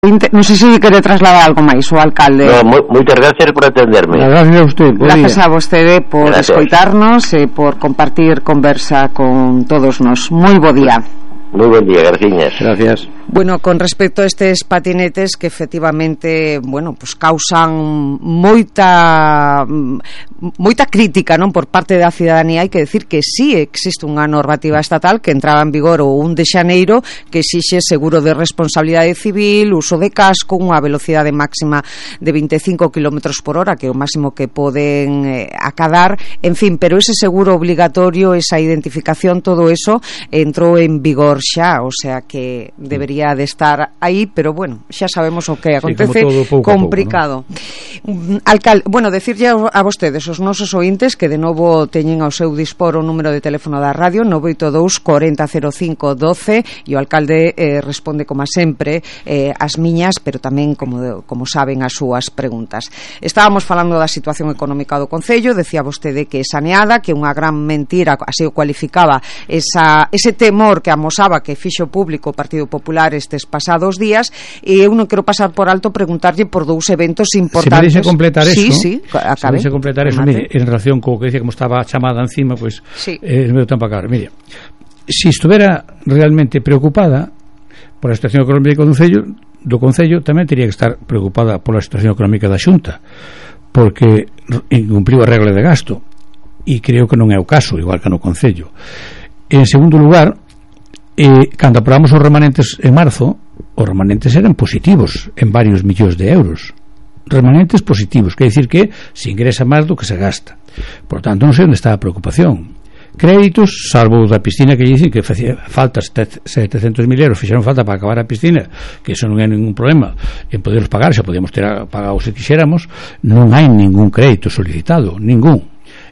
Non sei se quere trasladar algo máis o alcalde. No, moitas gracias por atenderme. Gracias a usted. Gracias a vostede por escoitarnos e por compartir conversa con todos nós. Moi bo día. Moi bon día, Garciñas. Gracias. Bueno, con respecto a estes patinetes que efectivamente, bueno, pues causan moita crítica, non, por parte da cidadanía. Hai que decir que sí existe unha normativa estatal que entraba en vigor o 1 de xaneiro que exixe seguro de responsabilidade civil, uso de casco, unha velocidade máxima de 25 km por hora, que é o máximo que poden acadar, en fin, pero ese seguro obligatorio, esa identificación, todo eso entrou en vigor xa, o sea que debería de estar aí, pero bueno, xa sabemos o que acontece, sí, complicado, ¿no? Alcalde, bueno, decirlle a vostedes, os nosos ointes, que de novo teñen ao seu dispor o número de teléfono da radio 982 40 05 12 e o alcalde responde como sempre as miñas, pero tamén como saben as súas preguntas. Estábamos falando da situación económica do Concello, decía vostede que é saneada, que unha gran mentira, así o cualificaba, ese temor que amosaba que fixo público o Partido Popular estes pasados días, e eu non quero pasar por alto preguntarlle por dous eventos importantes. Se me deixe completar eso, acabe. Se me deixe completar eso, mire, en relación co que decía como estaba chamada encima, pois, sí. No meu tempo acabar, mire, se estuvera realmente preocupada por a situación económica do Concello, tamén teria que estar preocupada pola situación económica da Xunta, porque incumpliu a regla de gasto, e creo que non é o caso, igual que no Concello. En segundo lugar, cando aprobamos os remanentes en marzo, os remanentes eran positivos en varios millóns de euros, remanentes positivos, quer dicir que se ingresa máis do que se gasta. Por tanto, non sei onde está a preocupación. Créditos, salvo da piscina, que dicen que facía falta 700.000 euros, fixeron falta para acabar a piscina, que eso non é ningún problema en poderlos pagar, xa podíamos ter pagado se quixéramos. Non hai ningún crédito solicitado, ningún.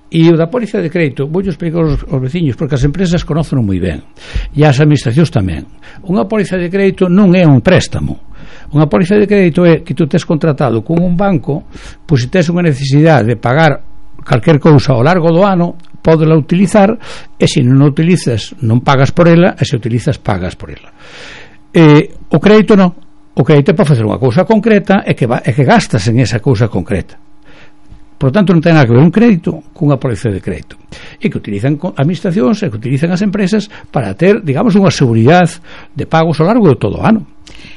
E o da póliza de crédito, vou explicar aos veciños, porque as empresas conocen moi ben, e as administracións tamén. Unha póliza de crédito non é un préstamo. Unha póliza de crédito é que tú tes contratado con un banco, pois se tes unha necesidade de pagar calquer cousa ao largo do ano, podela utilizar, e se non a utilizas non pagas por ela, e se utilizas pagas por ela. O crédito non. O crédito é para facer unha cousa concreta e que gastas en esa cousa concreta. Por tanto, non ten nada que ver un crédito cunha póliza de crédito, e que utilizan administracións e que utilizan as empresas para ter, digamos, unha seguridade de pagos ao largo de todo o ano.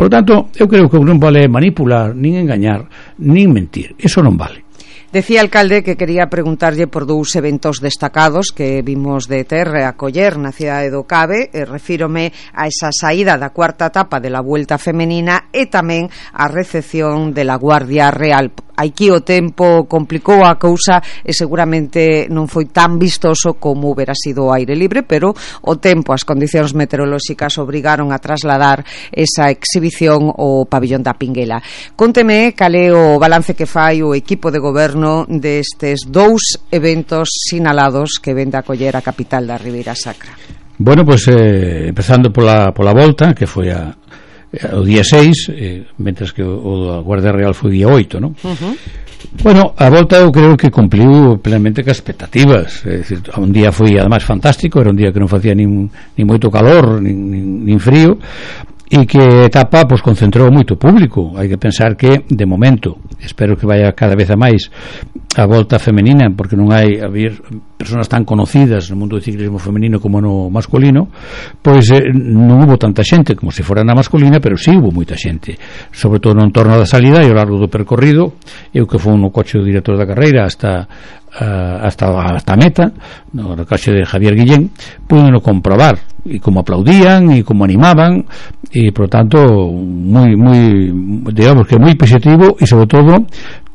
Por tanto, eu creo que non vale manipular, nin engañar, nin mentir. Eso non vale. Decía, alcalde, que quería preguntarlle por dous eventos destacados que vimos de ter a coller na cidade do Cabe. Refírome a esa saída da cuarta etapa de la Vuelta Femenina e tamén a recepción de la Guardia Real. Aquí o tempo complicou a cousa e seguramente non foi tan vistoso como hubiera sido o aire libre, pero o tempo, as condicións meteorolóxicas obrigaron a trasladar esa exhibición ao pabillón da Pinguela. Conteme cal é o balance que fai o equipo de goberno destes dous eventos sinalados que vende a coller a capital da Ribeira Sacra. Bueno, pues empezando pola volta, que foi o día 6, mentres que o da Guardia Real foi o día 8, non? Bueno, a volta eu creo que cumpliu plenamente que as expectativas, é dicir, un día foi además fantástico, era un día que non facía nin moito calor, nin frío, e que a etapa pues, concentrou moito público. Hai que pensar que, de momento, espero que vaya cada vez a máis a volta femenina, porque non hai haber persoas tan conocidas no mundo do ciclismo femenino como no masculino, pois non hubo tanta xente como se fora na masculina, pero sí hubo moita xente, sobre todo no entorno da salida e ao largo do percorrido. Eu que fui no coche do director da carreira hasta a meta, no coche de Javier Guillén, pude comprobar e como aplaudían e como animaban, e por tanto moi digamos que moi positivo, e sobre todo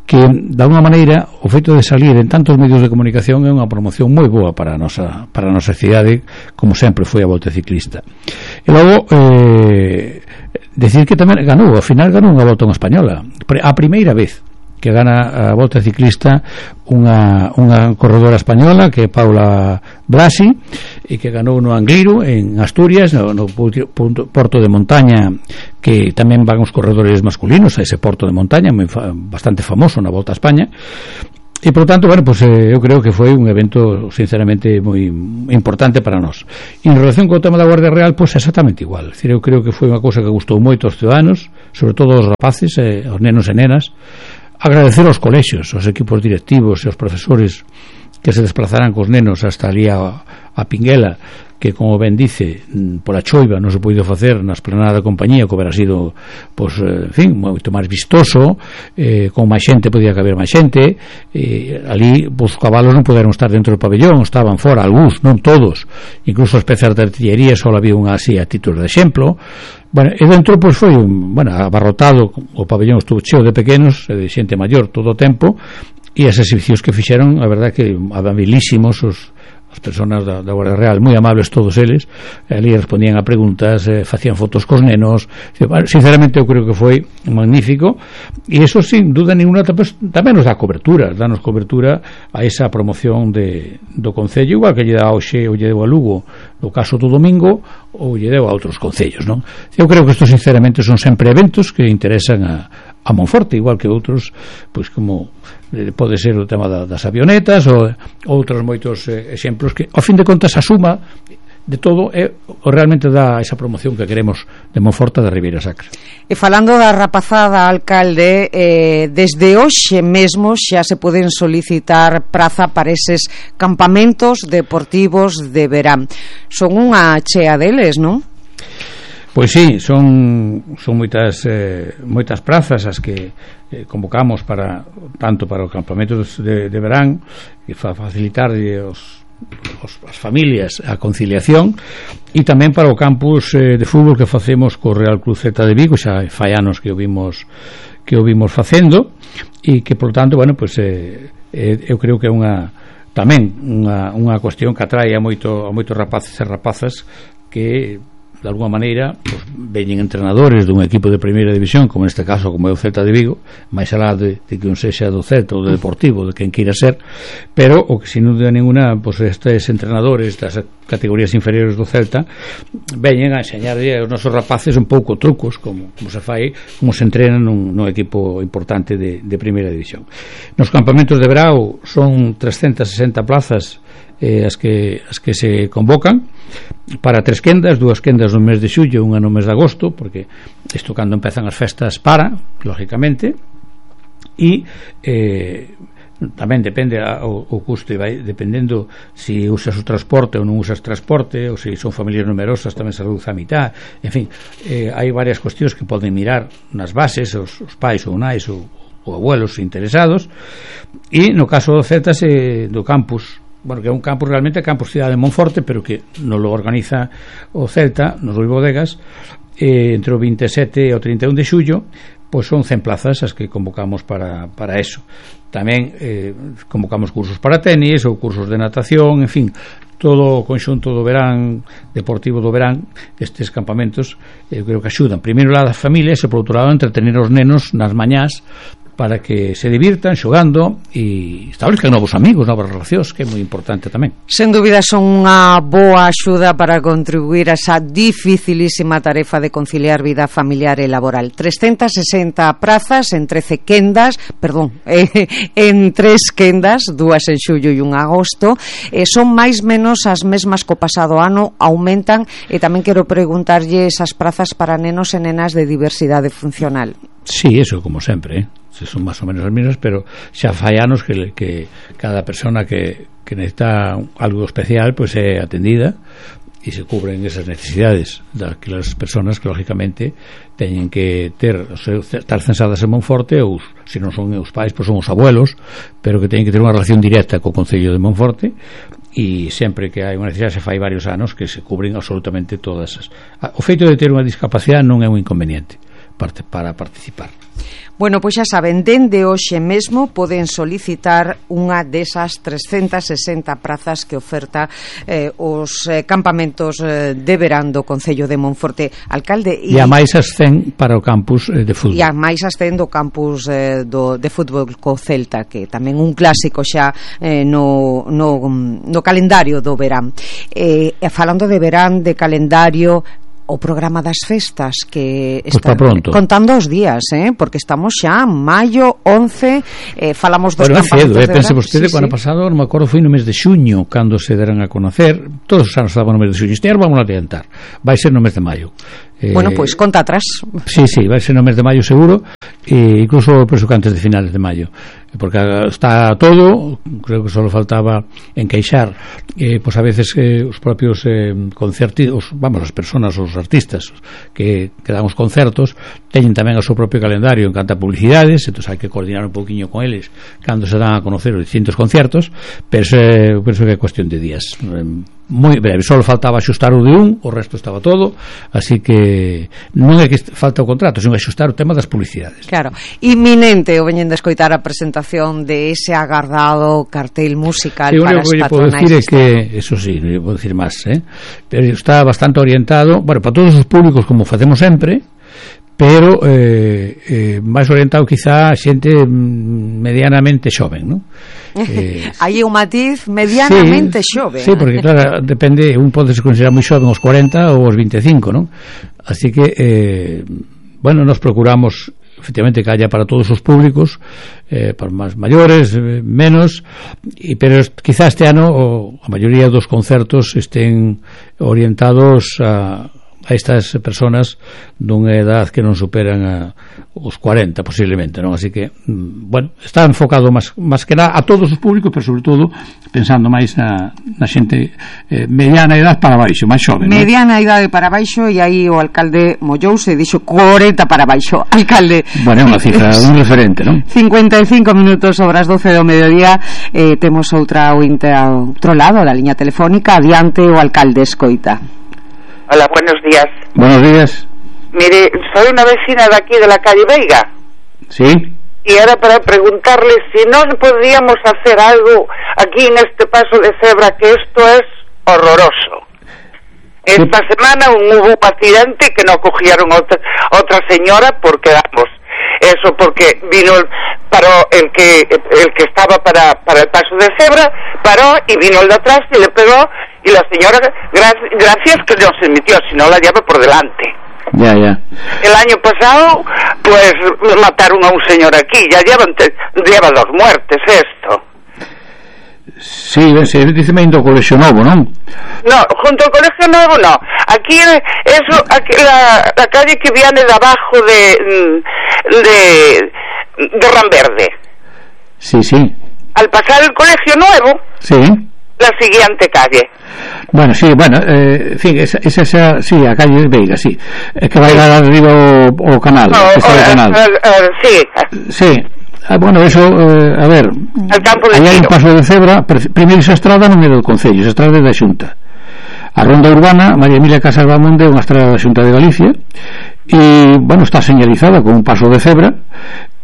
que de alguna maneira o feito de salir en tantos medios de comunicación é unha promoción moi boa para a nosa cidade, como sempre foi a volta ciclista. E logo decir que tamén ganou, ao final ganou unha volta española, a primeira vez que gana a volta ciclista unha corredora española, que é Paula Blasi, e que ganou no Angliru en Asturias, no porto de montaña, que tamén van os corredores masculinos a ese porto de montaña bastante famoso na Volta a España. E, por tanto, bueno, pues eu creo que foi un evento sinceramente moi importante para nós. E en relación co tema da Guardia Real, pues exactamente igual. Es decir, eu creo que foi unha cousa que gustou moito aos ciudadanos, sobre todo aos rapaces, aos nenos e nenas. Agradecer aos colexios, aos equipos directivos e aos profesores que se desplazaran cos nenos hasta ali a Pinguela, que, como ben dice, pola choiva non se podido facer na esplanada da compañía, que hubiera sido, pues, en fin, moito máis vistoso, con máis xente, podía caber máis xente, ali, pues, os cabalos non poderon estar dentro do pabellón, estaban fora, algúns, non todos, incluso as pezas de artillería só había unha así a título de exemplo. Bueno, e dentro, pues, foi abarrotado, o pabellón estuvo cheo de pequenos e de xente maior todo o tempo, e as exhibicións que fixeron, a verdad que amabilísimos as personas da Guardia Real, moi amables todos eles, ali respondían a preguntas, facían fotos cos nenos. Sinceramente eu creo que foi magnífico, e eso sin duda ninguna tamén nos dá cobertura, danos cobertura a esa promoción do Concello, igual que lle dá hoxe ou lle deu a Lugo no caso do domingo, ou lle deu a outros concellos, non? Eu creo que isto sinceramente son sempre eventos que interesan a Monforte, igual que outros, pois como pode ser o tema das avionetas ou outros moitos exemplos que, ao fin de contas, a suma de todo realmente dá esa promoción que queremos de Monforte da Ribeira Sacra. E falando da rapazada, alcalde, desde hoxe mesmo xa se poden solicitar praza para eses campamentos deportivos de verán. Son unha chea deles, non? Pois sí, son moitas prazas as que convocamos tanto para os campamentos de verán, e facilitar as familias a conciliación, e tamén para o campus de fútbol que facemos co Real Club Celta de Vigo, xa fai anos que o vimos facendo, e que, por tanto, bueno, pues eu creo que é tamén unha cuestión que atrae a moitos rapaces e rapazas que, de alguma maneira, pues, veñen entrenadores dun equipo de primeira división, como neste caso como é o Celta de Vigo, máis alá de que un sexa do Celta ou do Deportivo, de quen queira ser, pero o que sin dúbida ninguna, pues, estes entrenadores das categorías inferiores do Celta veñen a enseñarlle aos nosos rapaces un pouco trucos como se fai, como se entrenan nun equipo importante de primeira división. Nos campamentos de verao son 360 plazas as que se convocan para 3 quendas, 2 quendas no mes de xullo, unha no mes de agosto, porque isto cando empezan as festas lógicamente, e tamén depende o custo, e vai dependendo se usas o transporte ou non usas transporte, ou se son familias numerosas tamén se reduce a mitad, en fin, hai varias cuestións que poden mirar nas bases os pais ou nais ou abuelos interesados. E no caso do Celta, do campus, bueno, que é un campus realmente campus Cidade de Monforte, pero que non lo organiza o Celta nos Rui Bodegas, entre o 27 e o 31 de xullo, pois son 100 plazas as que convocamos para eso. Tamén convocamos cursos para tenis ou cursos de natación, en fin, todo o conxunto do verán deportivo do verán, estes campamentos eu creo que axudan primeiro lá das familias e por outro lado entretener os nenos nas mañás para que se divirtan xogando e establezcan novos amigos, novas relacións, que é moi importante tamén. Sen dúbida son unha boa axuda para contribuir a esa dificilísima tarefa de conciliar vida familiar e laboral. 360 prazas en 13 quendas, en 3 quendas, 2 en xullo e 1 en agosto, son máis menos as mesmas co pasado ano, aumentan, e tamén quero preguntarlle esas prazas para nenos e nenas de diversidade funcional. Sí, eso como sempre, son máis ou menos as mesmas, pero xa fai anos que cada persona que necesita algo especial pois é atendida e se cubren esas necesidades daquelas personas que lógicamente teñen que estar censadas en Monforte, ou se non son os pais, pois son os abuelos, pero que teñen que ter unha relación directa co Concello de Monforte, e sempre que hai unha necesidade, se fai varios anos que se cubren absolutamente todas o feito de ter unha discapacidade non é un inconveniente para participar. Bueno, pois xa saben, dende hoxe mesmo poden solicitar unha desas 360 prazas que oferta os campamentos de verán do Concello de Monforte. Alcalde, e a máis as 100 para o campus de fútbol. E a máis as 100 do campus de fútbol co Celta, que tamén un clásico xa no calendario do verán. Falando de verán, de calendario, o programa das festas que está contando os días, porque estamos xa en maio 11, falamos dos campamentos de verán. Pense vostede, o ano pasado, non me acordo, foi no mes de xuño cando se deran a conocer, todos os anos estaban no mes de xuño, este ano vamos a adiantar, vai ser no mes de maio. Bueno, pois conta atrás. Sí, vai ser no mes de maio seguro, e incluso penso que antes de finales de maio, porque está todo, creo que só faltaba encaixar, pois a veces os propios concertos, as personas, os artistas que dan os concertos teñen tamén o seu propio calendario en canto a publicidades, entón hai que coordinar un pouquiño con eles cando se dan a conocer os distintos concertos, penso que é cuestión de días, moi breve, só faltaba axustar o de o resto estaba todo, así que non é que falta o contrato, sino axustar o tema das publicidades. Claro, inminente o veñen de escoitar a presentación de ese agardado cartel musical para as patronais. O que podo dicir é que, eso sí, non podo dicir máis, pero está bastante orientado, bueno, para todos os públicos como facemos sempre, pero máis orientado quizá a xente medianamente xoven, non? Hai un matiz medianamente xoven. Sí, porque claro, depende, un pode se considerar moi xoven aos 40 ou aos 25, non? Así que bueno, nos procuramos efectivamente que haya para todos os públicos, para máis maiores, menos, pero quizá este ano a maioría dos concertos estén orientados a estas personas dunha edad que non superan os 40 posiblemente, non? Así que, bueno, está enfocado máis que nada a todos os públicos, pero sobre todo pensando máis na xente mediana edad para baixo, máis xoven. Mediana idade para baixo, e aí o alcalde mollouse e dixo 40 para baixo. Alcalde, bueno, é unha cifra un referente, non? 55 minutos sobre as 12 do mediodía, temos outra ointe ao outro lado da liña telefónica. Adiante, o alcalde escoita. Hola, buenos días. Buenos días. Mire, soy una vecina de aquí de la calle Veiga. Sí. Y era para preguntarle si no podríamos hacer algo aquí en este paso de cebra, que esto es horroroso. Esta semana hubo un accidente que no cogieron otra señora porque, vamos, eso porque paró el que estaba para el paso de cebra, paró y vino el de atrás y le pegó. Y la señora, gracias que no se metió, si no la lleva por delante. Ya. El año pasado, pues, mataron a un señor aquí. Ya lleva 2 muertes esto. Sí, se dice indo ao Colegio Novo, ¿non? No, junto ao Colegio Novo no. Aquí, aquí la calle que viene de abajo de Ranverde. Sí. Al pasar el Colegio Nuevo... Sí. La siguiente calle. Bueno, sí, en fin, esa sí, a calle de Veiga, sí. É que vai dar arriba o canal, canal. Sí. Bueno, eso, a ver, aí hai un paso de cebra. Primeiro esa estrada non é do Concello, esa estrada é da Xunta. A ronda urbana María Emilia Casas Bamonde é unha estrada da Xunta de Galicia, e, bueno, está señalizada con un paso de cebra,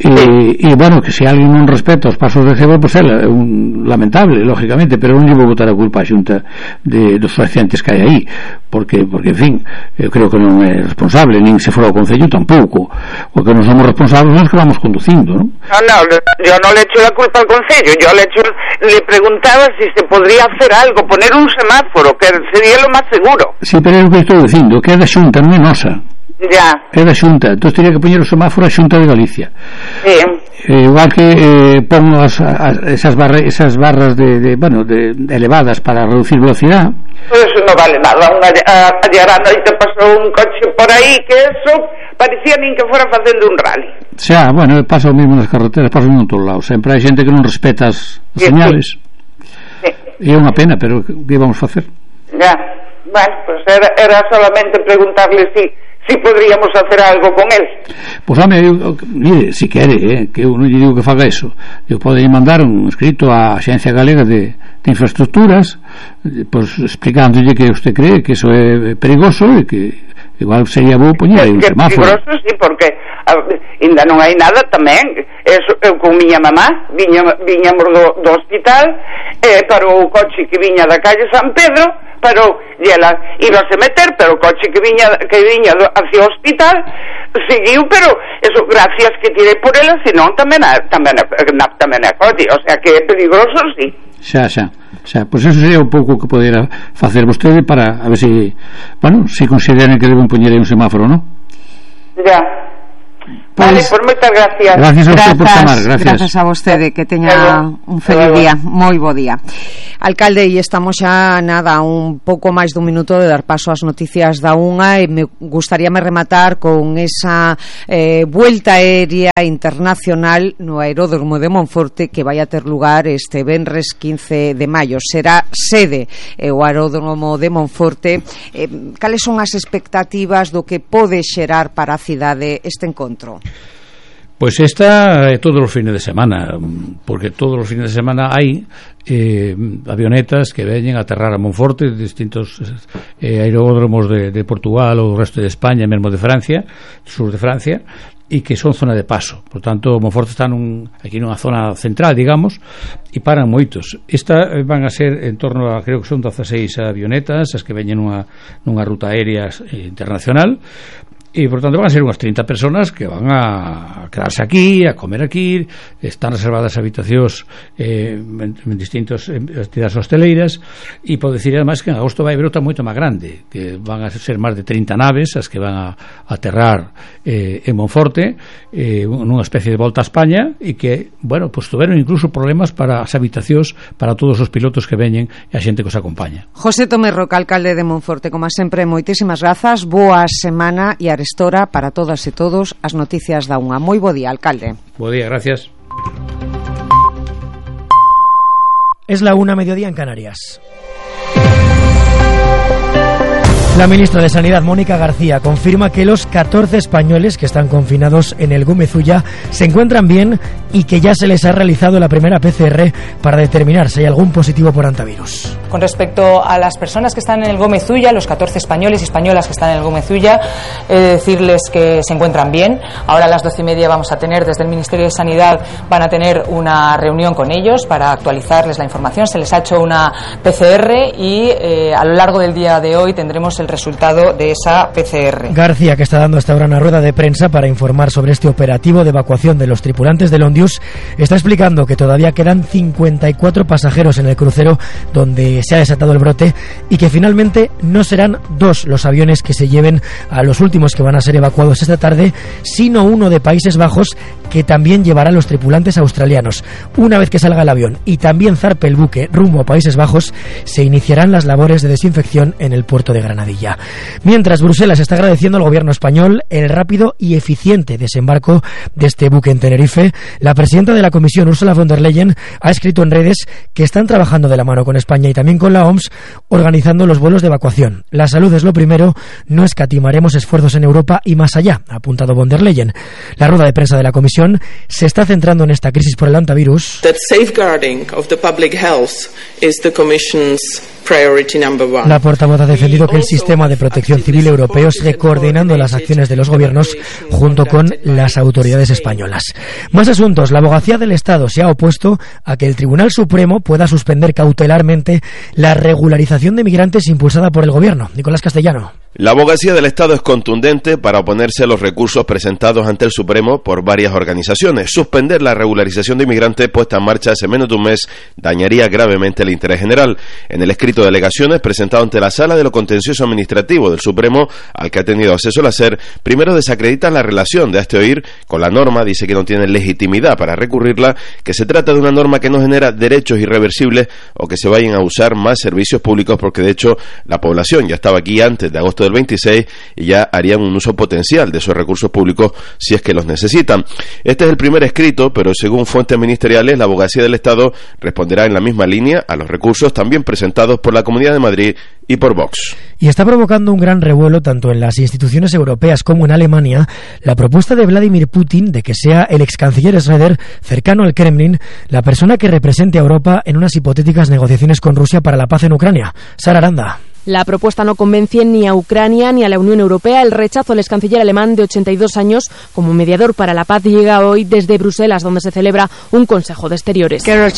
e bueno, que se alguén non respeta os pasos de cebra, pois é lamentable, lógicamente, pero non lle vou botar a culpa a Xunta dos accidentes que hai aí, porque en fin, eu creo que non é responsable, nin se fora o Concello tampouco, porque non somos responsables nos que vamos conducindo, non? No, yo no le echo la culpa al Concello, le preguntaba si se podría hacer algo, poner un semáforo, que sería lo más seguro. Sí, pero é o que estou dicindo, que é da Xunta, non é nosa. Ya. É da Xunta, entón teria que poñer o semáforo a Xunta de Galicia. Sí. Igual que pon esas barras de elevadas para reducir velocidad. Pues eso no vale nada. Ayer a noite pasou un coche por aí que eso parecía nin que fora facendo un rally. Xa, bueno, pasa o mismo nas carreteras, pasa o mismo en todos lados. Sempre hai xente que non respeta as señales. Sí. E é unha pena, pero que vamos facer? Ya, bueno, pues era solamente preguntarle si podríamos hacer algo con él. Pois, home, mire, si quere, que eu non lle digo que faga eso, eu podo mandar un escrito á Axencia Galega de Infraestructuras, pois explicándolle que usted cree que eso é perigoso e que igual sería bo poñer aí un semáforo. Perigoso, sí, porque ainda non hai nada tamén. Eu con miña mamá viñamos do hospital, parou o coche que viña da calle San Pedro, parou e ela íbase meter, pero o coche que viña hacia o hospital seguiu, pero eso gracias que tirei por ela, senón tamén a coche, o sea que é peligroso, sí. Xa. Pois eso sería un pouco que podera facer vostede para a ver se, bueno, se consideran que deben poñer aí un semáforo, non? Ya. Vale, pues moitas gracias. Gracias a usted por chamar, gracias a vostede, que teña un feliz día, moi bo día. Alcalde, e estamos xa nada, un pouco máis dun minuto de dar paso ás noticias da unha, e me gustaríame rematar con esa vuelta aérea internacional no aeródromo de Monforte que vai a ter lugar este venres 15 de maio. Será sede o aeródromo de Monforte. Cales son as expectativas do que pode xerar para a cidade este encontro? Pois esta todos os fines de semana, porque todos os fines de semana hai avionetas que veñen a aterrar a Monforte de distintos aeródromos de Portugal ou do resto de España, mesmo de Francia, sur de Francia, e que son zona de paso. Por tanto, Monforte está aquí nunha zona central, digamos, e paran moitos. Esta van a ser en torno a, creo que son 16 avionetas as que veñen nunha ruta aérea internacional. E, por tanto, van a ser unhas 30 personas que van a quedarse aquí, a comer aquí. Están reservadas habitacións en distintas entidades hosteleiras. E podo dicir, además, que en agosto vai haber outra moito máis grande, que van a ser máis de 30 naves as que van a aterrar en Monforte, nunha especie de volta a España, e que, bueno, pues tuveron incluso problemas para as habitacións para todos os pilotos que veñen e a xente que os acompaña. José Tomé Roca, alcalde de Monforte, como sempre, moitísimas grazas, boa semana e arestora para todas e todos as noticias da unha. Moi bo día, alcalde. Bo día, gracias. Es la 1:00 en Canarias. La ministra de Sanidad, Mónica García, confirma que los 14 españoles que están confinados en el Gómez Ulla se encuentran bien y que ya se les ha realizado la primera PCR para determinar si hay algún positivo por hantavirus. Con respecto a las personas que están en el Gómez Ulla, los 14 españoles y españolas que están en el Gómez Ulla, decirles que se encuentran bien. Ahora a las 12:30 vamos a tener, desde el Ministerio de Sanidad, van a tener una reunión con ellos para actualizarles la información. Se les ha hecho una PCR y a lo largo del día de hoy tendremos el resultado de esa PCR. García, que está dando hasta ahora una rueda de prensa para informar sobre este operativo de evacuación de los tripulantes del Ondius, está explicando que todavía quedan 54 pasajeros en el crucero donde se ha desatado el brote y que finalmente no serán 2 los aviones que se lleven a los últimos que van a ser evacuados esta tarde, sino uno de Países Bajos que también llevará a los tripulantes australianos. Una vez que salga el avión y también zarpe el buque rumbo a Países Bajos, se iniciarán las labores de desinfección en el puerto de Granadilla. Mientras, Bruselas está agradeciendo al gobierno español el rápido y eficiente desembarco de este buque en Tenerife. La presidenta de la Comisión, Ursula von der Leyen, ha escrito en redes que están trabajando de la mano con España y también con la OMS, organizando los vuelos de evacuación. La salud es lo primero, no escatimaremos esfuerzos en Europa y más allá, ha apuntado von der Leyen. La rueda de prensa de la Comisión se está centrando en esta crisis por el hantavirus. That safeguarding of the public health is the Commission's priority number one. La portavoz ha defendido que el sistema de protección civil europeo sigue coordinando las acciones de los gobiernos junto con las autoridades españolas. Más asuntos. La Abogacía del Estado se ha opuesto a que el Tribunal Supremo pueda suspender cautelarmente la regularización de migrantes impulsada por el gobierno. Nicolás Castellano. La Abogacía del Estado es contundente para oponerse a los recursos presentados ante el Supremo por varias organizaciones. Suspender la regularización de inmigrantes puesta en marcha hace menos de un mes dañaría gravemente el interés general. En el escrito de alegaciones presentado ante la Sala de lo Contencioso Administrativo del Supremo, al que ha tenido acceso el SER, primero desacreditan la relación de este oír con la norma, dice que no tiene legitimidad para recurrirla, que se trata de una norma que no genera derechos irreversibles o que se vayan a usar más servicios públicos, porque de hecho la población ya estaba aquí antes de agosto del 26 y ya harían un uso potencial de esos recursos públicos si es que los necesitan. Este es el primer escrito, pero según fuentes ministeriales, la Abogacía del Estado responderá en la misma línea a los recursos también presentados por la Comunidad de Madrid y por Vox. Y está provocando un gran revuelo tanto en las instituciones europeas como en Alemania la propuesta de Vladimir Putin de que sea el ex canciller Schröder, cercano al Kremlin, la persona que represente a Europa en unas hipotéticas negociaciones con Rusia para la paz en Ucrania. Sara Aranda. La propuesta no convence ni a Ucrania ni a la Unión Europea. El rechazo del canciller alemán de 82 años como mediador para la paz llega hoy desde Bruselas, donde se celebra un Consejo de Exteriores. La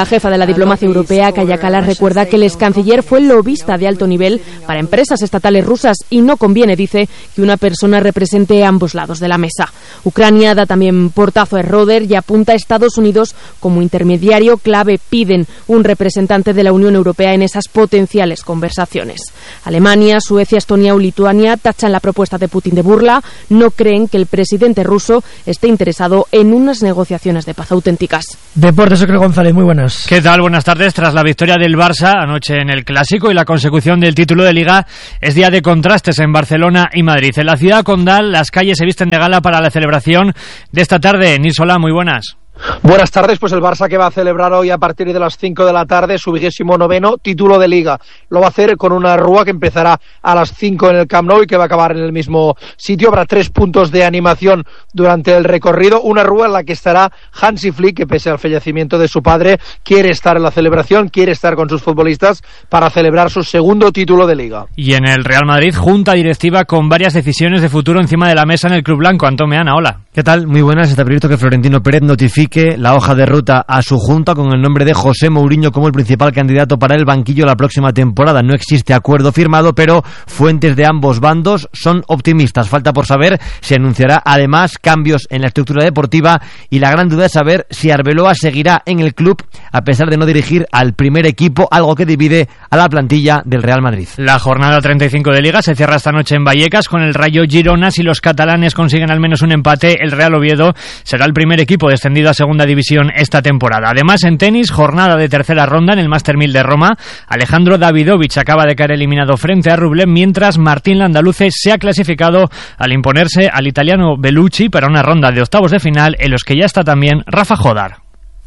jefa de la diplomacia europea, Kaja Kallas, recuerda que el canciller fue lobista de alto nivel para empresas estatales rusas y no conviene, dice, que una persona represente ambos lados de la mesa. Ucrania da también portazo a Roder y apunta a Estados Unidos como intermediario clave. Piden un representante de la Unión Europea en esas potenciales conversaciones. Alemania, Suecia, Estonia o Lituania tachan la propuesta de Putin de burla. No creen que el presidente ruso esté interesado en unas negociaciones de paz auténticas. Deportes, Ocre González, muy buenas. ¿Qué tal? Buenas tardes. Tras la victoria del Barça anoche en el Clásico y la consecución del título de Liga, es día de contrastes en Barcelona y Madrid. En la ciudad condal, las calles se visten de gala para la celebración de esta tarde. Nilsola, muy buenas. Buenas tardes, pues el Barça que va a celebrar hoy a partir de las 5 de la tarde su 29º título de Liga. Lo va a hacer con una rúa que empezará a las 5 en el Camp Nou y que va a acabar en el mismo sitio. Habrá 3 puntos de animación durante el recorrido. Una rúa en la que estará Hansi Flick, que pese al fallecimiento de su padre, quiere estar en la celebración, quiere estar con sus futbolistas para celebrar su segundo título de Liga. Y en el Real Madrid, junta directiva con varias decisiones de futuro encima de la mesa en el Club Blanco. Antón Meana, hola. ¿Qué tal? Muy buenas. Está previsto que Florentino Pérez notifique la hoja de ruta a su junta con el nombre de José Mourinho como el principal candidato para el banquillo la próxima temporada. No existe acuerdo firmado, pero fuentes de ambos bandos son optimistas. Falta por saber si anunciará además cambios en la estructura deportiva y la gran duda es saber si Arbeloa seguirá en el club a pesar de no dirigir al primer equipo, algo que divide a la plantilla del Real Madrid. La jornada 35 de Liga se cierra esta noche en Vallecas con el Rayo Girona. Si los catalanes consiguen al menos un empate, el Real Oviedo será el primer equipo descendido a segunda división esta temporada. Además, en tenis, jornada de tercera ronda en el Master 1000 de Roma. Alejandro Davidovich acaba de caer eliminado frente a Rublev, mientras Martín Landaluce se ha clasificado al imponerse al italiano Bellucci para una ronda de octavos de final en los que ya está también Rafa Jodar.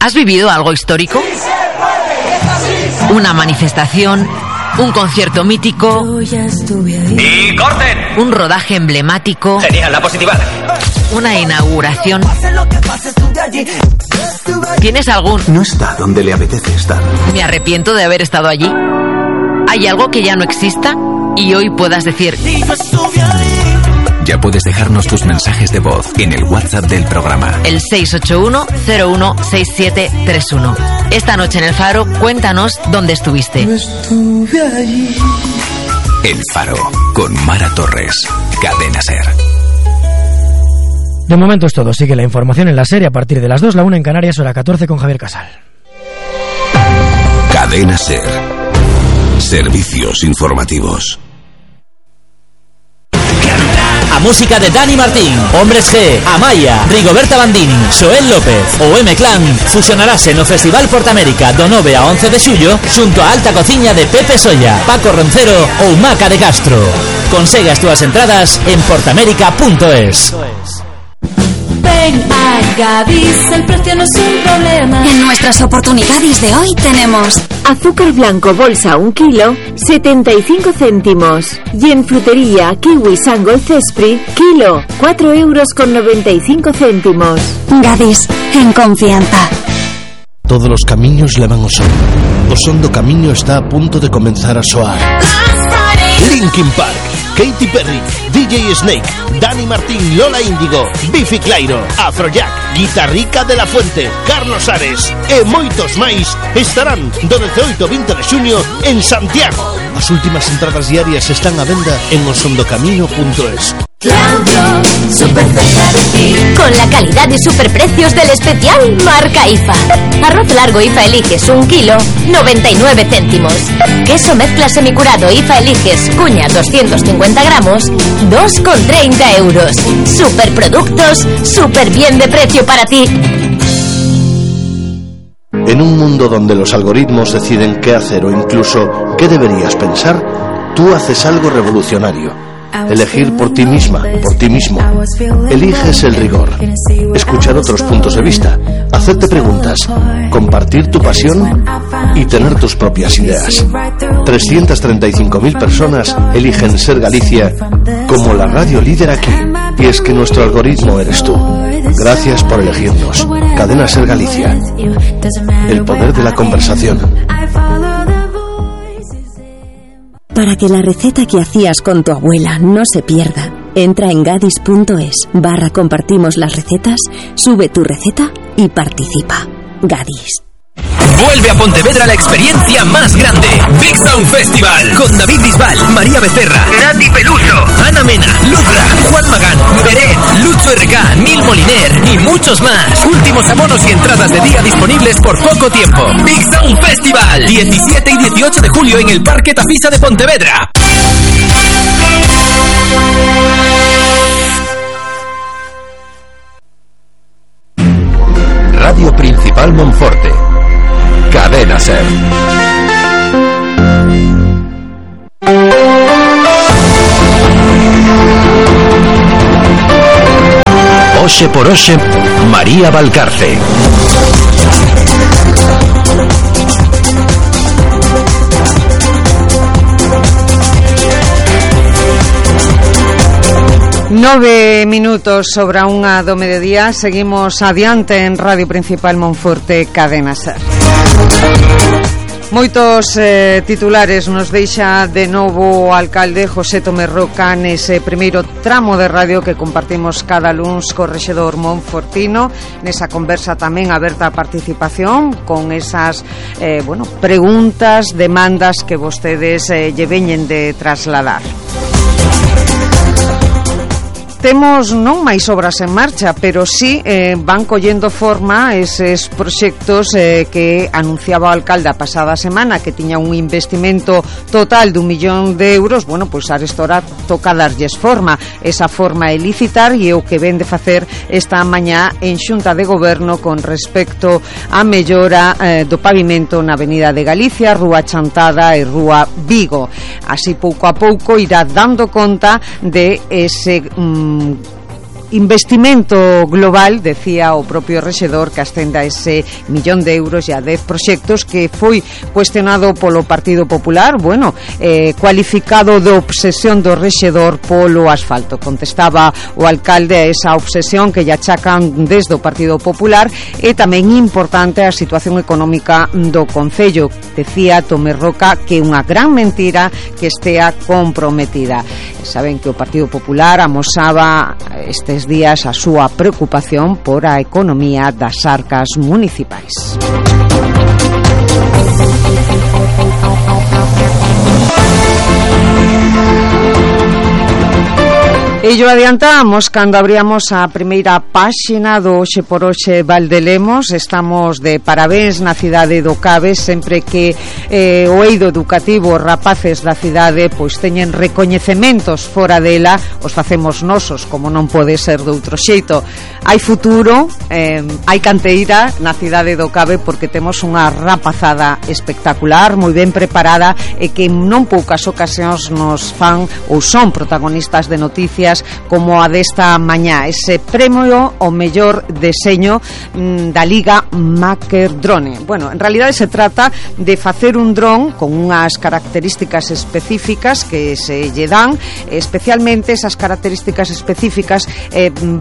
¿Has vivido algo histórico? Una manifestación, un concierto mítico. ¡Y corten! Un rodaje emblemático. Genial, la positiva. Una inauguración. ¿Tienes algún? No está donde le apetece estar. Me arrepiento de haber estado allí. ¿Hay algo que ya no exista? Y hoy puedas decir... Ya puedes dejarnos tus mensajes de voz en el WhatsApp del programa. El 681-016731. Esta noche en El Faro, cuéntanos dónde estuviste. El Faro, con Mara Torres. Cadena SER. De momento es todo. Sigue la información en la serie a partir de las 2, la 1 en Canarias, hora 14 con Javier Casal. Cadena SER. Servicios informativos. A música de Dani Martín, Hombres G, Amaya, Rigoberta Bandini, Xoel López o M-Clan fusionarase no Festival Portamérica do 9 a 11 de xullo xunto a Alta Cociña de Pepe Solla, Paco Roncero ou Maca de Castro. Consegue as túas entradas en portamérica.es. Ven a Gadis, el precio no es un problema. En nuestras oportunidades de hoy tenemos azúcar blanco bolsa 1 kilo, 75 céntimos. Y en frutería, kiwi Sangol Cespri, kilo, 4,95 €. Gadis, en confianza. Todos los camiños levan ao son. O son do camiño está a punto de comenzar a soar. Linkin Park, Katy Perry, DJ Snake, Dani Martín, Lola Índigo, Bifi Clyro, Afrojack, Guitarrica de la Fuente, Carlos Ares e moitos máis estarán do 18 ao 20 de xuño en Santiago. As últimas entradas diarias están á venda en osondocamino.es. Claudio, súper cerca de ti. Con la calidad y superprecios del especial Marca IFA. Arroz largo IFA Eliges 1 kilo, 99 céntimos. Queso mezcla semicurado IFA Eliges cuña 250 gramos, 2,30 €. Superproductos, súper bien de precio para ti. En un mundo donde los algoritmos deciden qué hacer o incluso qué deberías pensar, tú haces algo revolucionario. Elegir por ti misma, por ti mismo. Eliges el rigor. Escuchar otros puntos de vista. Hacerte preguntas. Compartir tu pasión y tener tus propias ideas. 335.000 personas eligen Ser Galicia como la radio líder aquí. Y es que nuestro algoritmo eres tú. Gracias por elegirnos. Cadena Ser Galicia. El poder de la conversación. Para que la receta que hacías con tu abuela no se pierda, entra en gadis.es/compartimos las recetas, sube tu receta y participa. Gadis. Vuelve a Pontevedra la experiencia más grande. Big Sound Festival. Con David Bisbal, María Becerra, Nati Peluso, Ana Mena, Lucra, Juan Magán, Beret, Lucho RK, Nil Moliner y muchos más. Últimos abonos y entradas de día disponibles por poco tiempo. Big Sound Festival. 17 y 18 de julio en el Parque Tafisa de Pontevedra. Radio Principal Monforte. Cadena SER. Oxe por Oxe, María Valcarce. Nove minutos sobre a unha do mediodía. Seguimos adiante en Radio Principal Monforte, Cadena SER. Moitos titulares nos deixa de novo o alcalde José Tomé Roca nese primeiro tramo de radio que compartimos cada luns co rexedor monfortino, nesa conversa tamén aberta a participación con esas preguntas, demandas que vostedes lle veñen de trasladar. Temos non máis obras en marcha, pero sí van collendo forma eses proxectos que anunciaba o alcalde a pasada semana, que tiña un investimento total de 1 millón de euros. Bueno, pois arestora toca darlles forma. Esa forma é licitar e é o que ven de facer esta mañá en Xunta de Goberno con respecto á mellora do pavimento na Avenida de Galicia, Rúa Chantada e Rúa Vigo. Así pouco a pouco irá dando conta de ese investimento global, decía o propio rexedor, que ascenda a ese 1 millón de euros e a 10 proxectos que foi cuestionado polo Partido Popular, cualificado de obsesión do rexedor polo asfalto. Contestaba o alcalde a esa obsesión que lle achacan desde o Partido Popular, e tamén importante a situación económica do concello. Decía Tomé Roca que é unha gran mentira que estea comprometida. Saben que o Partido Popular amosaba estes días a súa preocupación por a economía das arcas municipais. E yo adiantamos cando abríamos a primeira páxina do Oxe por Oxe Valdelemos. Estamos de parabéns na cidade do Cabe, sempre que o eido educativo, os rapaces da cidade pois teñen recoñecementos fora dela, os facemos nosos, como non pode ser de outro xeito. Hai futuro, hai canteira na cidade do Cabe, porque temos unha rapazada espectacular, moi ben preparada, e que non poucas ocasións nos fan ou son protagonistas de noticias como a desta mañá. Ese premio ao mellor deseño da Liga Maker Drone. Bueno, en realidade se trata de facer un dron con unhas características específicas que se lle dan, especialmente esas características específicas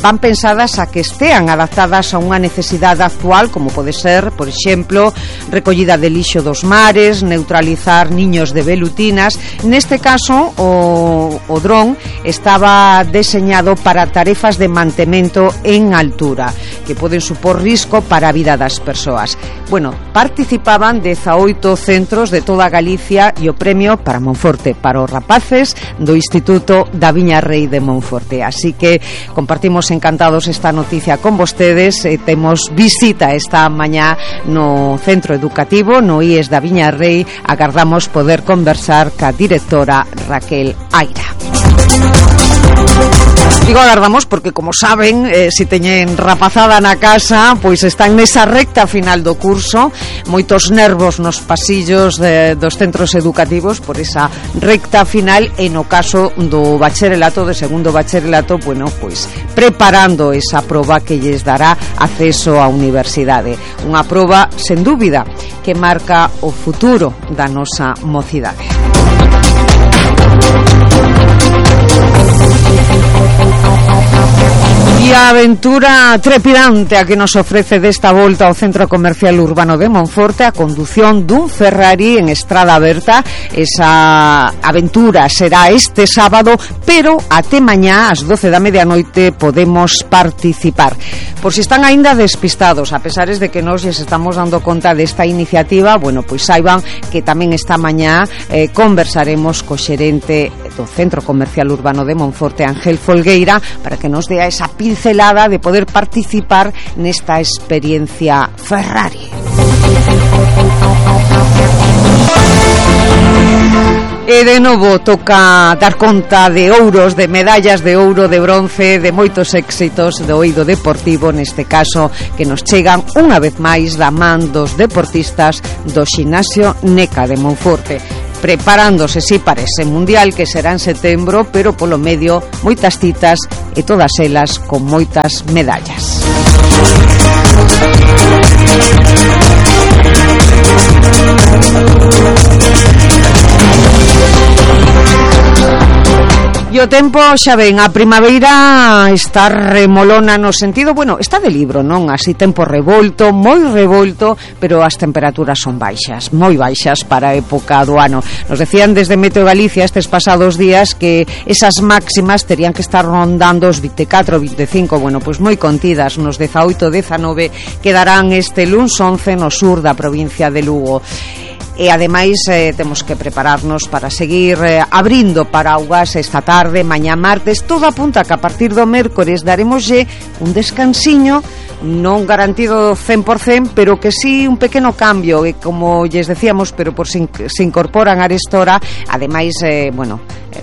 van pensadas a que estean adaptadas a unha necesidade actual, como pode ser, por exemplo, recollida de lixo dos mares, neutralizar niños de velutinas. Neste caso, o dron estaba deseñado para tarefas de mantemento en altura, que poden supor risco para a vida das persoas. Bueno, participaban 18 centros de toda Galicia e o premio para Monforte, para os rapaces do Instituto da Viña Rei de Monforte. Así que compartimos encantados esta noticia con vostedes. Temos visita esta mañá no centro educativo, no IES da Viña Rei. Agardamos poder conversar ca directora Raquel Aira. Digo agardamos porque, como saben, si teñen rapazada na casa, pois están nesa recta final do curso, moitos nervos nos pasillos dos centros educativos por esa recta final, e no caso do bacharelato, de segundo bacharelato, bueno, pois preparando esa proba que lles dará acceso á universidade. Unha proba, sen dúbida, que marca o futuro da nosa mocidade. E a aventura trepidante a que nos ofrece desta volta ao Centro Comercial Urbano de Monforte a condución dun Ferrari en estrada aberta. Esa aventura será este sábado, pero até mañá ás 12 da medianoite podemos participar. Por si están aínda despistados, a pesares de que nos lles estamos dando conta desta iniciativa, bueno, pois saiban que tamén esta mañá conversaremos co xerente do Centro Comercial Urbano de Monforte, Ángel Folgueira, para que nos dea esa pincelada de poder participar nesta experiencia Ferrari. E de novo toca dar conta de ouros, de medallas de ouro, de bronce, de moitos éxitos do eido deportivo, neste caso que nos chegan unha vez máis da man dos deportistas do Ximnasio Neca de Monforte, preparándose para ese mundial que será en setembro, pero polo medio moitas citas e todas elas con moitas medallas. E o tempo, xa ven, a primavera está remolona no sentido, bueno, está de libro, non? Así tempo revolto, moi revolto, pero as temperaturas son baixas, moi baixas para a época do ano. Nos decían desde Meteo Galicia estes pasados días que esas máximas terían que estar rondando os 24, 25, bueno, pois moi contidas, nos 18, 19 quedarán este luns 11 no sur da provincia de Lugo. E ademais temos que prepararnos para seguir abrindo paraugas esta tarde, mañá martes. Todo apunta que a partir do mércores daremoslle un descansiño, non garantido 100%, pero que sí un pequeno cambio, e como lles decíamos, pero por se incorporan a restora, ademais,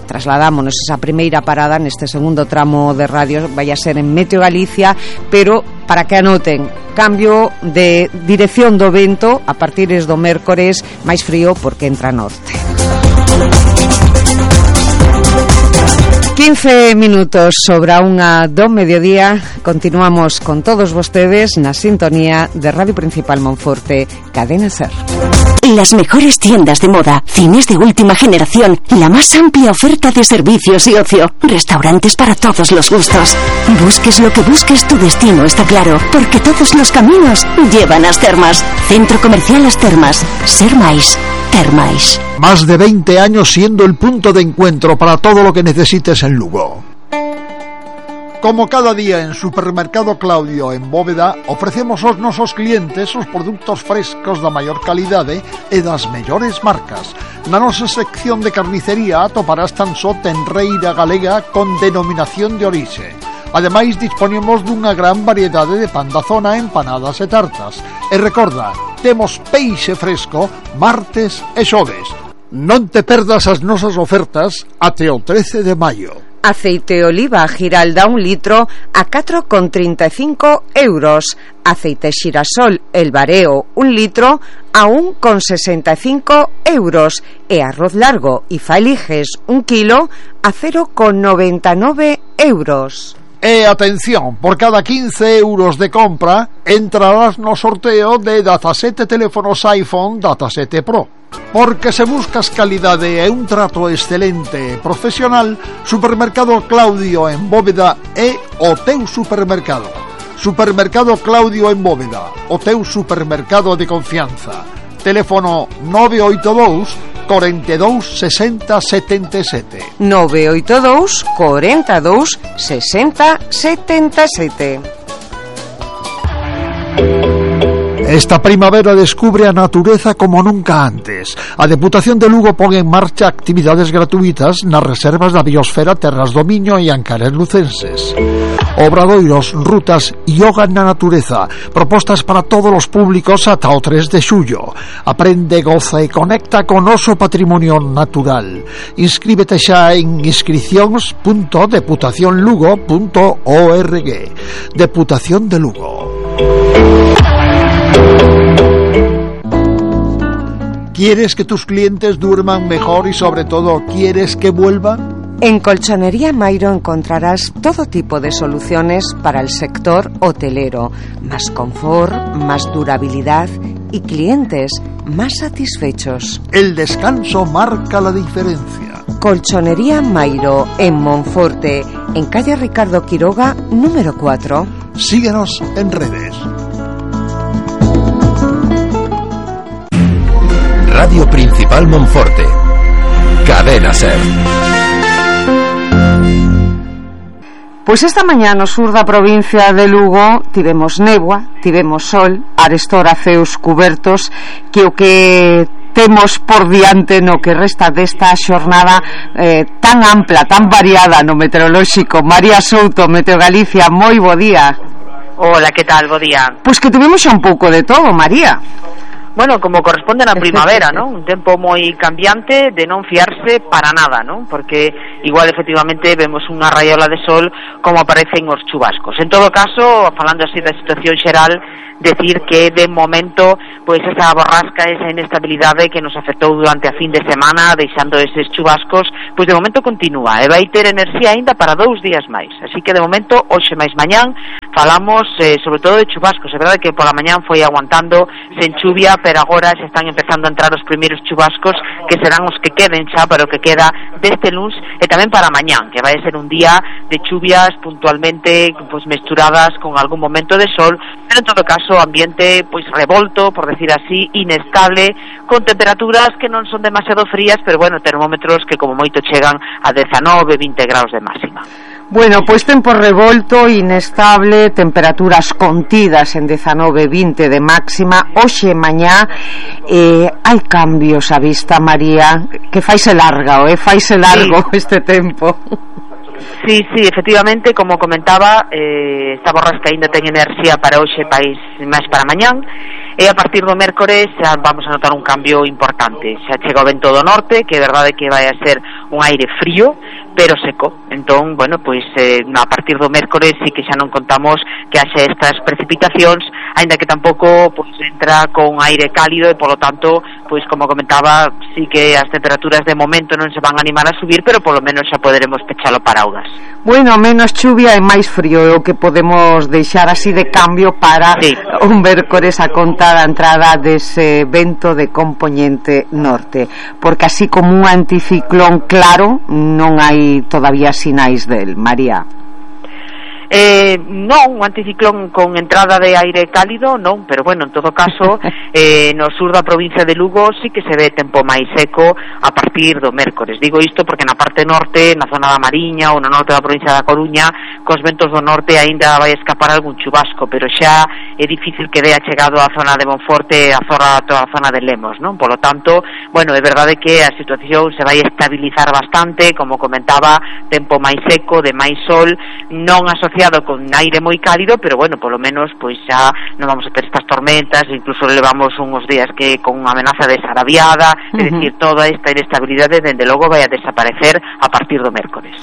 trasladámonos esa primeira parada neste segundo tramo de radio, vai a ser en Meteo Galicia, pero para que anoten, cambio de dirección do vento a partir do mércores, máis frío porque entra norte. 15 minutos sobre a unha do mediodía. Continuamos con todos vostedes na sintonía de Radio Principal Monforte, Cadena SER. Las mejores tiendas de moda, cines de última generación, la más amplia oferta de servicios y ocio, restaurantes para todos los gustos. Busques lo que busques, tu destino está claro, porque todos los caminos llevan a As Termas. Centro Comercial As Termas. Ser máis. Termais. Más de 20 años siendo el punto de encuentro para todo lo que necesites en Lugo. Como cada día en Supermercado Claudio en Bóveda, ofrecemos aos nosos clientes os produtos frescos da maior calidade e das mellores marcas. Na nosa sección de carnicería atoparás tan só tenreira galega con denominación de orixe. Ademais, disponemos dunha gran variedade de pan da zona, empanadas e tartas. E recorda, temos peixe fresco martes e xoves. Non te perdas as nosas ofertas até o 13 de maio. Aceite oliva Giralda 1 litro a 4,35 euros. Aceite xirasol El Bareo 1 litro a 1,65 euros. E arroz largo e Faeliges 1 kilo a 0,99 euros. E atención, por cada 15 euros de compra entrarás no sorteo de 17 teléfonos iPhone Data7 Pro. Porque se buscas calidade e un trato excelente e profesional, Supermercado Claudio en Bóveda é o teu supermercado. Supermercado Claudio en Bóveda, o teu supermercado de confianza. Teléfono 982 42 60 77. 982 42 60 77. Esta primavera descubre a natureza como nunca antes. A Deputación de Lugo pon en marcha actividades gratuitas nas reservas da biosfera Terras do Miño e Ancares Lucenses. Obradoiros, rutas, yoga na natureza, propostas para todos os públicos ata o 3 de xullo. Aprende, goza e conecta con noso patrimonio natural. Inscríbete xa en inscripcións.deputacionlugo.org. Deputación de Lugo. ¿Quieres que tus clientes duerman mejor y sobre todo quieres que vuelvan? En Colchonería Mairo encontrarás todo tipo de soluciones para el sector hotelero, más confort, más durabilidad y clientes más satisfechos. El descanso marca la diferencia. Colchonería Mairo, en Monforte, en calle Ricardo Quiroga, número 4. Síguenos en redes. Radio Principal Monforte. Cadena Ser. Pois esta mañá no sur da provincia de Lugo tivemos néboa, tivemos sol, arestora ceos cubertos, que o que temos por diante no que resta desta xornada tan ampla, tan variada no meteorolóxico. María Souto, Meteo Galicia, moi bo día. Hola, que tal? Bo día. Pois que tivemos xa un pouco de todo, María. Bueno, como corresponde na primavera, ¿no? Un tempo moi cambiante de non fiarse para nada, ¿no? Porque igual efectivamente vemos unha raiola de sol como aparecen os chubascos. En todo caso, falando así da situación xeral, decir que de momento pois esa borrasca, esa inestabilidade que nos afectou durante a fin de semana, deixando eses chubascos, pois de momento continúa e vai ter enerxía aínda para 2 días máis. Así que de momento, hoxe máis mañán, falamos sobre todo de chubascos. É verdade que pola mañán foi aguantando sen chuvia, pero agora se están empezando a entrar os primeiros chubascos, que serán os que queden xa para o que queda deste luns e tamén para mañán, que vai ser un día de chuvias puntualmente pois mesturadas con algún momento de sol, pero en todo caso ambiente pois revolto, por decir así, inestable, con temperaturas que non son demasiado frías, pero bueno, termómetros que como moito chegan a 19, 20 graus de máxima. Bueno, pois tempo revolto, inestable, temperaturas contidas en 19, 20 de máxima. Hoxe mañá hai cambios á vista, María, que faise largo, faise largo este tempo. Sí, efectivamente, como comentaba, esta borrasca ainda ten enerxía para hoxe, máis para mañán, e a partir do mércores xa vamos a notar un cambio importante. Xa chega o vento do norte, que é verdade que vai a ser un aire frío, pero seco. Entón, bueno, pois a partir do mércores sí que xa non contamos que haxe estas precipitacións, aínda que tampouco pois entra con aire cálido e polo tanto, pois como comentaba, sí que as temperaturas de momento non se van a animar a subir, pero polo menos xa poderemos pechalo para augas. Bueno, menos chuvia e máis frío é o que podemos deixar así de cambio para un mércores a conta da entrada dese vento de compoñente norte, porque así como un anticiclón claro non hai todavía sinais del, María. Non, un anticiclón con entrada de aire cálido non, pero bueno, en todo caso no sur da provincia de Lugo sí que se ve tempo máis seco a partir do mércores. Digo isto porque na parte norte, na zona da Mariña ou no norte da provincia da Coruña, cos ventos do norte aínda vai escapar algún chubasco, pero xa é difícil que dea chegado á zona de Monforte, toda a zona de Lemos, non? Polo tanto, bueno, é verdade que a situación se vai estabilizar bastante, como comentaba, tempo máis seco, de máis sol, non asociado con aire moi cálido, pero bueno, polo menos pois xa non vamos a ter estas tormentas, incluso levamos uns días que con unha amenaza de sarabiada, é dicir, toda esta inestabilidade dende logo vai a desaparecer a partir do mércores.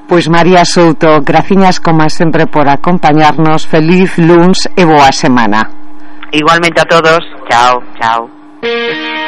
Pois María Souto, graciñas como sempre por acompañarnos, feliz luns e boa semana. Igualmente a todos, chao.